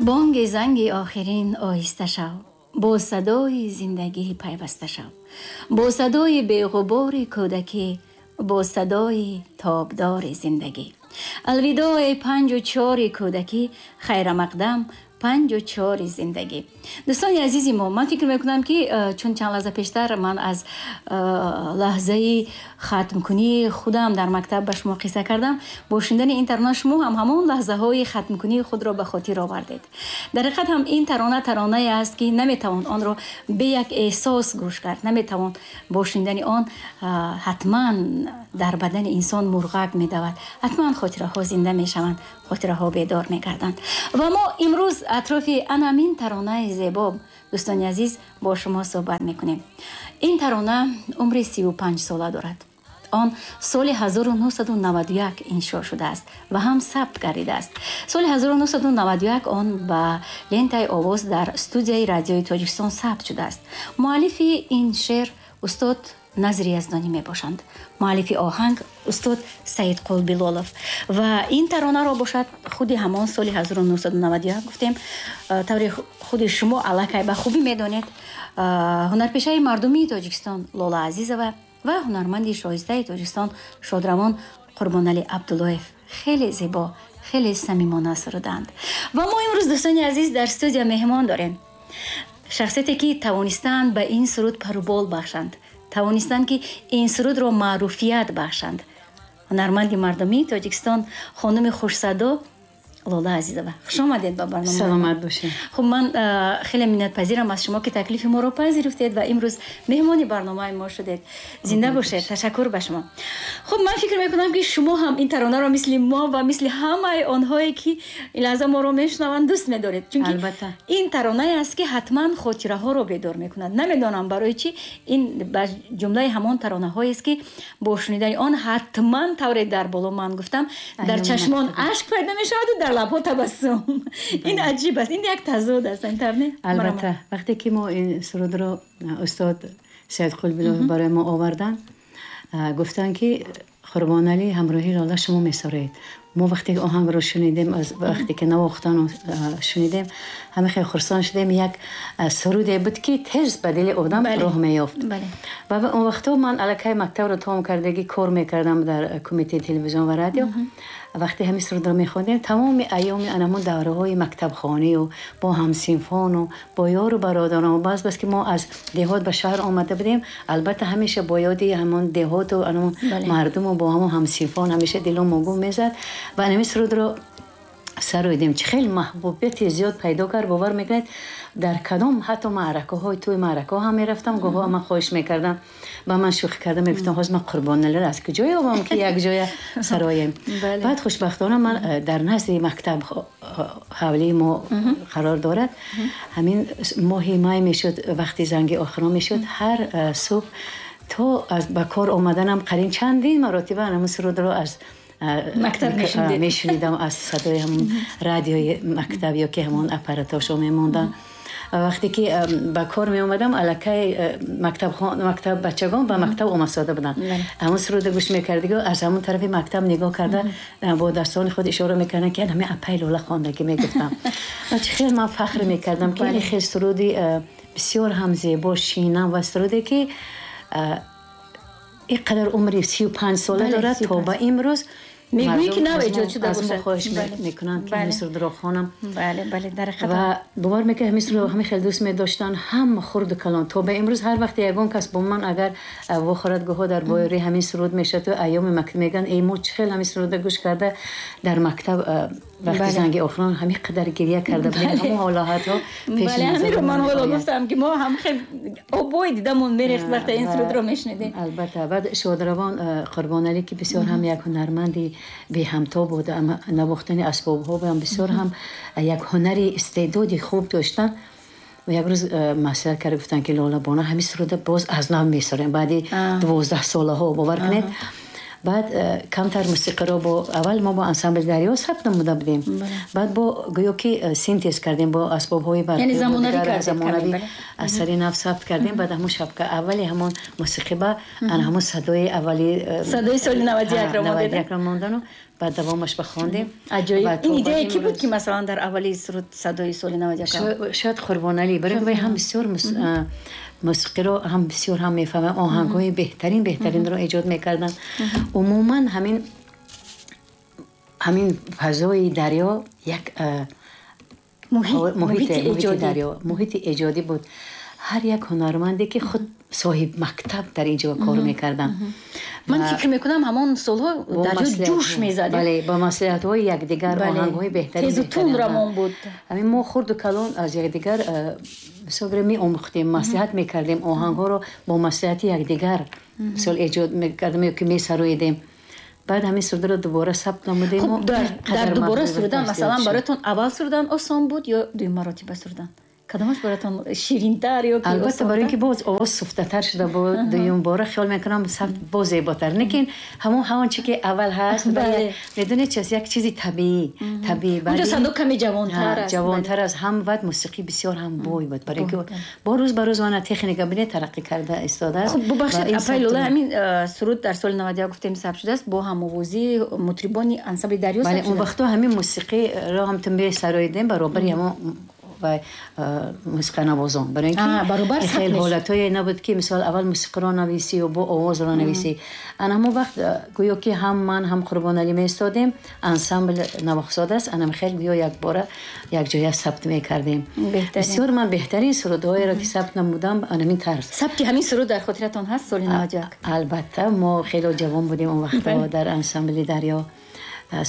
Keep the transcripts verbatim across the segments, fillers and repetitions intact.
Бонги занги охирин оҳиста шав, бо садои зиндагӣ пайваста шав, бо садои беғубори кӯдакӣ, бо садои тобдори зиндагӣ. Алвидоъ, эй панҷу чори кӯдакӣ, хайрамақдам, панҷу чори зиндагӣ. Дӯстони азизи мо, ман фикр мекунам, ки э, чун чанд лаҳза пештар ман аз э, лаҳзаи хатмкунии худам дар мактаб ба шумо қисса кардам, бо шунидани ин тарона шумо ҳам ҳамон лаҳзаҳои хатмкунии худро ба хотир овардед. Дар ҳақиқат ҳам ин тарона таронае аст, ки наметавон онро бе як эҳсос гӯш кард, наметавон. Бо шунидани он э, ҳатман дар бадани инсон мурғак медавад, ҳатман хотираҳо зинда мешаванд, хотираҳо бедор мегарданд. Ва мо имрӯз атрофи анамин таронаи зебо, дӯстони азиз, бо шумо суҳбат мекунем. Ин тарона умри сиву панҷ сола дорад. Он соли ҳазору нӯҳсаду наваду як иншо шудааст ва ҳам сабт гардидааст. Соли ҳазору нӯҳсаду наваду як он ба лентаи овоз дар студияи Радиои Тоҷикистон сабт шудааст. Муаллифи ин шеър устод Назри Яздонӣ мебошанд, муаллифи оҳанг устод Саидқул Билолов. Ва ин таронаро бошад, худи ҳамон соли ҳазору нӯҳсаду наваду як гуфтем, тавре худи шумо аллакай ба хубӣ медонед, ҳунарпешаи мардумии Тоҷикистон Лола Азизова ва ҳунарманди шоистаи Тоҷикистон шодравон Қурбоналӣ Абдуллоев хеле зебо, хеле самимона суруданд. Ва мо имрӯз, дӯстони азиз, дар студия меҳмон дорем, шахсияте ки тавонистанд ба ин суруд парубол бахшанд, тавонистанд, ки ин сурудро маъруфият бахшанд, ҳунарманди мардумии Тоҷикистон, хонуми хушсадо Лола Азизова. Хуш омадед ба барнома. Саломат бошед. Хуб, ман хеле миннатпазирам аз шумо, ки таклифи моро пазируфтед ва имрӯз меҳмони барномаи мо шудед. Зинда бошед, ташаккур ба шумо. Хуб, ман фикр мекунам, ки шумо ҳам ин таронаро мисли мо ва мисли ҳамаи онҳое, ки ин лаҳза моро мешунаванд, дӯст медоред, чунки Албатта. ин таронае аст, ки ҳатман хотираҳоро бедор мекунад. Намедонам барои чӣ, ин ба ҷумлаи ҳамон таронаҳоест, ки бо шунидани он ҳатман, тавре дар боло ман гуфтам, дар чашмон ашк пайдо мешаваду дар лабҳо табассум. Ин аҷиб аст, ин як тазод аст, ин тавр не? Албатта, вақте ки мо ин сурудро устод Саидқул Билолов барои мо оварданд, гуфтанд, ки Қурбоналӣ ҳамроҳи Лола шумо месароед. Мо вақте ки оҳангро шунидем, аз вақте ки навохтану шунидем, ҳама хеле хурсанд шудем. Як суруде буд, ки тез ба дили одам роҳ меёфт. Ва он вақтҳо ман аллакай мактабро тамом кардагӣ, кор мекардам дар Кумитаи телевизион ва радио. Вақте ҳамин сурудро мехондем, тамоми айёми анамон давраҳои мактабхонию бо ҳамсинфону бо ёру бародарон, бас бас ки мо аз деҳот ба шаҳр омада будем, албатта, ҳамеша бо ёди ҳамон деҳоту анамон мардуму бо ҳамон ҳамсинфон ҳамеша дило могум мезад. Ва ҳамин сурудро сароидем, чӣ хеле маҳбубияти зиёд пайдо кард. Бовар мекунед, дар кадом ҳатто маъракаҳои тӯи маъракаҳо ҳам мерафтам, гоҳҳо ман хоҳиш мекардам, ба ман шӯхӣ карда мегуфтам: «Ҳозир ман Қурбоналиро аз куҷо ёбам, ки як ҷоя сароем?» Баъд хушбахтона ман э, дар назди мактаб ҳавлии мо қарор дорад. Ҳамин моҳи май мешуд, вақти занги охирон мешуд, ҳар э, субҳ то аз ба кор омаданам қарин чандин маротиба ҳамин сурудро аз мактаб мешунидам, аз садои ҳамон радиои мактаб ё ки ҳамон аппаратошо мемондам. Вақте ки ба кор меомадам, аллакай мактаб бачагон ба мактаб омадсода буданд. Ҳамон суруда гӯш мекардиго, аз ҳамон тарафи мактаб нигоҳ карда, бо дастони худ ишора мекарданд, ки ҳамин апай Лола хондагӣ. Мегуфтам, чӣ хел ман фахр мекардам, ки ин хел суруди бисёр ҳам зебо, шинам ва суруде, ки ин қадар умри сию панҷ сола дорад, то ба имрӯз Мегӯӣ, ки нав эҷод шуда бошад. Аз мо хоҳиш мекунанд, ки ҳамин сурудро хонам. Бале, бале, дар ҳақиқат. Ва бовар мекунед, ҳамин сурудро ҳамин хеле дӯст медоштанд ҳама, хурду калон. То ба имрӯз ҳар вақте ягон кас бо ман агар вохӯрад, гоҳо дар бораи ҳамин суруд мешавад, айёми мактаб мегӯянд: «Эй, мо чӣ хел ҳамин сурудро гӯш карда, дар мактаб вақти занги охирон ҳамин қадар гиря карда будем». Ҳамон ҳолатҳо. Бале, ҳаминро ман ҳоло гуфтам, ки мо ҳам хел обои дидамон мерехт, вақте ин сурудро мешунидем. Албатта. Баъд шодравон Қурбоналӣ, ки бисёр ҳам як ҳунарманди беҳамто буд, навохтани асбобҳо ҳам бисёр ҳам як ҳунари истеъдоди хуб доштанд, як рӯз маслиҳат карда гуфтанд, ки Лола бону, ҳамин суруда боз аз нав месароем баъди дувоздаҳ солаҳо. Бовар кунед. Баъд камтар мусиқиро бо аввал мо бо ансамбли Дарё сабт намуда будем. Баъд бо гӯё ки синтез кардем бо асбобҳои барқӣ, яъне замонавӣ кардем, замонавӣ аз сари нав сабт кардем. Баъд ҳамон шабка аввали ҳамон мусиқӣ ба ан ҳамон садои аввали садои соли навад ва як ро навад ва як ро мондану баъд давомаш бахондем. Аҷоиб. Ин идея ки буд ки масалан дар аввали суруд садои соли навад ва як? Шояд Қурбоналӣ, барои вай ҳам бисёр мусиқиро ҳам бисёр ҳам мефаҳмам, оҳангҳои беҳтарин беҳтаринро эҷод мекарданд. Умуман ҳамин ҳамин фазои дарё як муҳити дарё, муҳити эҷодӣ буд. Ҳар як ҳунарманде ки худ соҳиб мактаб дар ин ҷо кор мекарданд. Ман фикр мекунам ҳамон солҳо дарё ҷӯш мезад. Бале, бо маслиҳатҳои якдигар оҳангҳои беҳтарин тезу тунд равон буд. Ҳамин мо хурду калон аз якдигар бисёр меомӯхтем, маслиҳат мекардем, оҳангҳоро бо маслиҳати якдигар мисол эҷод мекардем ё ки месароидем. Баъд ҳамин сурудро дубора сабт намудем. Хуб, дар дубора сурудан масалан бароятон аввал сурудан осон буд ё дуюм маротиба сурудан? Кадомаш бароятон ширинтар ё ки? Албатта, барои инки боз овоз суфтатар шуда буд, дуюм бора хиёл мекунам сабт боз зеботар. Лекин ҳамон ҳамон чи ки аввал ҳаст, медонед чист, як чизи табиӣ, табиӣ. Онҷо садо каме ҷавонтар аст. Ҷавонтар аст, ҳам баъд мусиқӣ бисёр ҳам бой буд, барои инки бо рӯз ба рӯз она техника бинед тараққӣ карда истодааст. Хуб, бубахшед, апай Лола, ҳамин суруд дар соли навад ва як гуфтем сабт шудааст бо ҳамовозии мутрибони ансамбли Дарё сабт шудааст. Бале, он вақтҳо ҳамин мусиқиро ҳам ту месароидем баробари ҳамон ва мусиқанавозон, барои инки хеле ҳолатҳое набуд ки мисол аввал мусиқиро нависӣ ё бо овозро нависӣ. Ана ҳамон вақт гӯё ки ҳам ман ҳам Қурбоналӣ меистодем, ансамбл навохсода аст, анам хеле гӯё якбора якҷоя сабт мекардем. Бисёр ман беҳтарин сурудҳоеро ки сабт намудам анамин тарз. Сабти ҳамин суруд дар хотиратон ҳаст соли навад ва як? Албатта, мо хеле ҷавон будем он вақтҳо, дар ансамбли Дарё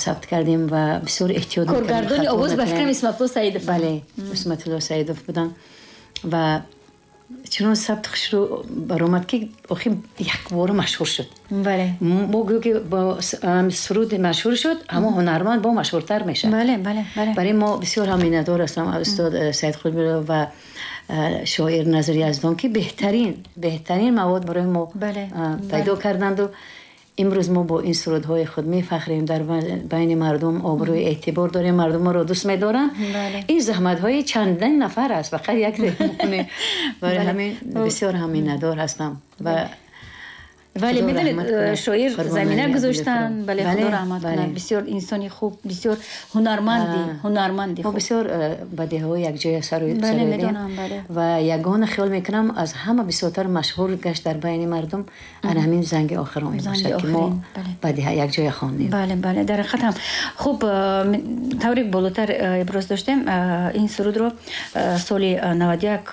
сабт кардем ва бисёр эҳтиёт мекардем. Коргардони овоз ба фикрам Исматулло Саидов. Бале, Исматулло Саидов буданд ва чунон сабт хушрӯ баромад ки охир якбора машҳур шуд. Бале. Мо гӯё ки бо суруд машҳур шуд, ҳамон ҳунарманд бо машҳуртар мешавад. Бале, бале, бале. Барои мо бисёр ҳам миннатдор ҳастам аз устод Саид Қурбонов ва шоир Назари Яздон ки беҳтарин, беҳтарин мавод барои мо пайдо карданду имрӯз мо бо ин сурудҳои худ мефахрем, дар байни мардум обрӯи эътибор дорем, мардум моро дӯст медоранд. Ин заҳматҳои чандин нафар аст, фақат як не. Барои ҳамин бисёр ҳам миннатдор ҳастам. Ва вале медонед, шоир замина гузоштанд, бале, худо раҳмат кунад, бисёр инсони хуб, бисёр ҳунарманди, ҳунарманди хуб. Мо бисёр бадеҳаҳо якҷоя сароидем ва ягона хиёл мекунам аз ҳама бисёртар машҳур гашт дар байни мардум ана ҳамин занги охирон мебошад ки мо бадеҳа якҷоя хондем. Бале, бале, дар ҳақиқат ҳам хуб. Тавре болотар иброз доштем, ин сурудро соли навад ва як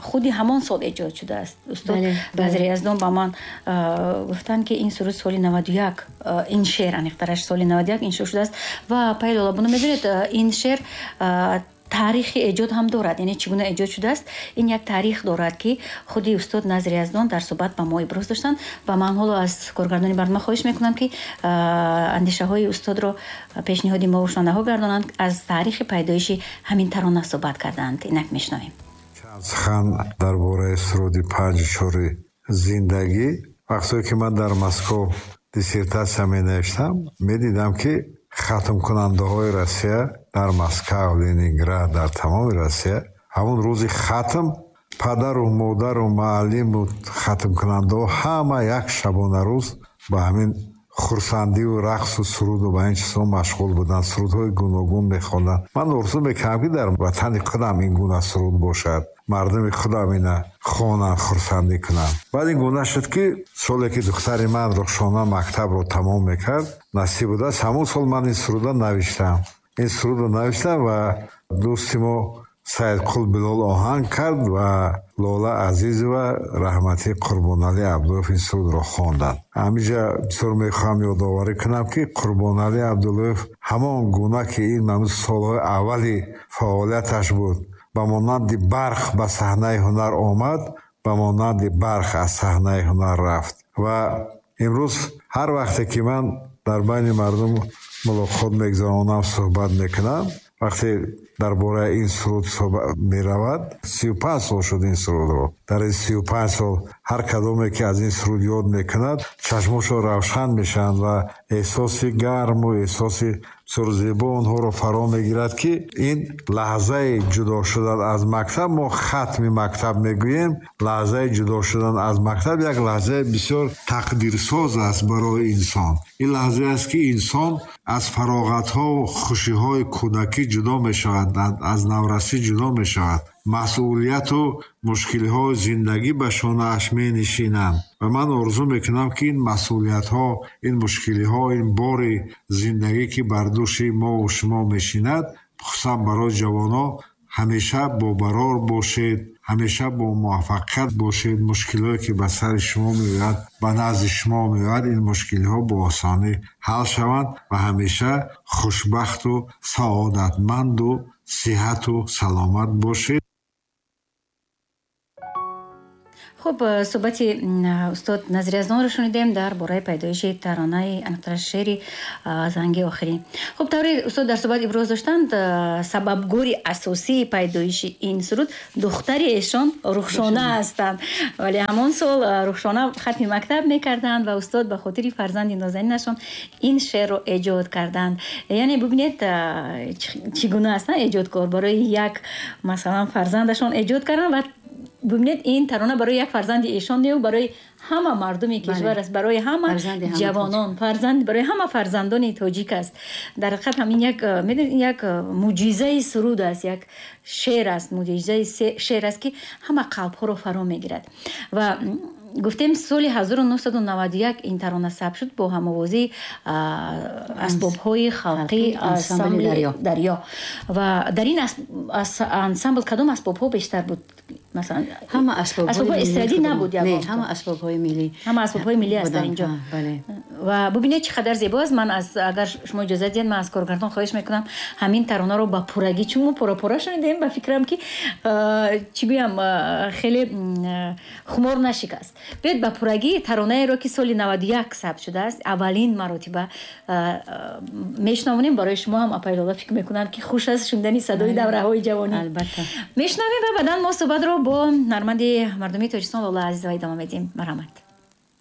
худи ҳамон сол эҷод шудааст. Устод Назари Яздон ба ман гуфтанд ки ин суруд соли навад ва як, ин шеър аниқтараш соли навад ва як иншо шудааст. Ва апай Лола, буно медонед, ин шеър таърихи эҷод ҳам дорад, яъне чӣ гуна эҷод шудааст, ин як таърих дорад ки худи устод Назари Яздон дар суҳбат ба мо иброз доштанд. Ва ман ҳоло аз коргардони барнома хоҳиш мекунам ки андешаҳои устодро пешниҳоди мо шунавандаҳо гардонанд, аз таърихи пайдоиши ҳамин тарона суҳбат карданд. Инак мешунавем. Сухан дар бораи суруди панҷу чори зиндагӣ. Вақтое ки ман дар Москва диссертатсия менавиштам, медидам ки хатмкунандаҳои Россия дар Москва, Ленинград, дар тамоми Россия ҳамон рӯзи хатм падару модару муаллиму хатмкунандаҳо ҳама як шабонарӯз ба ҳамин хурсандиву рақсу суруду ба ин чизҳо машғул буданд, сурудҳои гуногун мехонданд. Ман орзу мекардам ки дар ватани худам ин гуна суруд бошад, мардуми худам ина хонанд, хурсандӣ кунанд. Баъд ин гуна шуд ки соле ки духтари ман Рухшона мактабро тамом мекард, насиб будааст, ҳамон сол ман ин сурудро навиштам. Ин сурудро навиштам ва дӯсти мо Саидқул Билол оҳанг кард ва Лола Азизова раҳмати Қурбоналӣ Абдуллоев ин сурудро хонданд. Ҳаминҷа бисёр мехоҳам ёдоварӣ кунам ки Қурбоналӣ Абдуллоев ҳамон гуна ки ин ҳамун солҳои аввали фаъолияташ буд, ба монанди барқ ба саҳнаи ҳунар омад, ба монанди барқ аз саҳнаи ҳунар рафт. Ва имрӯз ҳар вақте ки ман дар байни мардум мулоқот мегузаронам, суҳбат мекунам, Вақте дар бораи ин суруд суҳбат меравад, сию панҷ сол шуд ин сурудро. Дар ин сию панҷ сол ҳар кадоме ки аз ин суруд ёд мекунад, чашмошон равшан мешаванд ва эҳсоси гарму эҳсоси бисёр зебо онҳоро фаро мегирад, ки ин лаҳзаи ҷудо шудан аз мактаб, мо хатми мактаб мегӯем, лаҳзаи ҷудо шудан аз мактаб як лаҳзаи бисёр тақдирсоз аст барои инсон. Ин лаҳзае аст, ки инсон аз фароғатҳову хушиҳои кӯдакӣ ҷудо мешавад, аз наврасӣ ҷудо мешавад. Масъулияту мушкилиҳои зиндагӣ ба шонааш менишинанд ва ман орзу мекунам, ки ин масъулиятҳо, ин мушкилиҳо, ин бори зиндагӣ, ки бар дӯши мову шумо мешинад, хусусан барои ҷавонон, ҳамеша бобарор бошед, ҳамеша бо муваффақият бошед. Мушкилиҳое ки ба сари шумо меояд, ба назди шумо меояд, ин мушкилиҳо бо осонӣ ҳал шаванд ва ҳамеша хушбахту саодатманду сиҳату саломат бошед. Хуб, суҳбати устод Назир Яздонро шунидем дар бораи пайдоиши таронаи аниқтараш шеъри занги охирин. Хуб, тавре устод дар суҳбат иброз доштанд, сабабгори асосии пайдоиши ин суруд духтари эшон Рухшона ҳастанд. Вале ҳамон сол Рухшона хатми мактаб мекарданд ва устод ба хотири фарзанди нозанинашон ин шеърро эҷод карданд. Яъне бубинед, чӣ гуна ҳастанд эҷодкор. Барои як, масалан, фарзандашон эҷод карданд ва бубинед, ин тарона барои як фарзанди эшон не, барои ҳама мардуми кишвар аст, барои ҳама ҷавонон, фарзанд, барои ҳама фарзандони тоҷик аст. Дар ҳақиқат ҳамин як, медонед, як муъҷизаи суруд аст, як шеър аст, муъҷизаи шеър аст, ки ҳама қалбҳоро фаро мегирад. Ва гуфтем, соли ҳазору нӯҳсаду наваду як ин тарона сабт шуд бо ҳамовозии асбобҳои халқи ансамбли Дарё. Ва дар ин ансамбл кадом асбобҳо бештар буд? Масалан, ҳама асбобҳои эстрадӣ набуд? Не, ҳама асбобҳои миллӣ. Ҳама асбобҳои миллӣ аст дар инҷо. Ва бубинед, чӣ қадар зебо аст. Ман аз, агар шумо иҷозат диҳед, ман аз коргардон хоҳиш мекунам ҳамин таронаро ба пуррагӣ, чун мо пора-пора шунидем, ба фикрам ки чӣ гӯям, хеле хумор нашикаст. Биёед ба пуррагӣ таронаеро, ки соли наваду як сабт шудааст, аввалин маротиба мешунавонем. Барои шумо ҳам, апаи Лола, фикр мекунам, ки хуш аст шунидани садои давраҳои ҷавонӣ. Албатта. Мешунавем ва баъдан мо суҳбатро бо ҳунарманди мардумии Тоҷикистон Лола Азизова идома медиҳем. Марҳамат.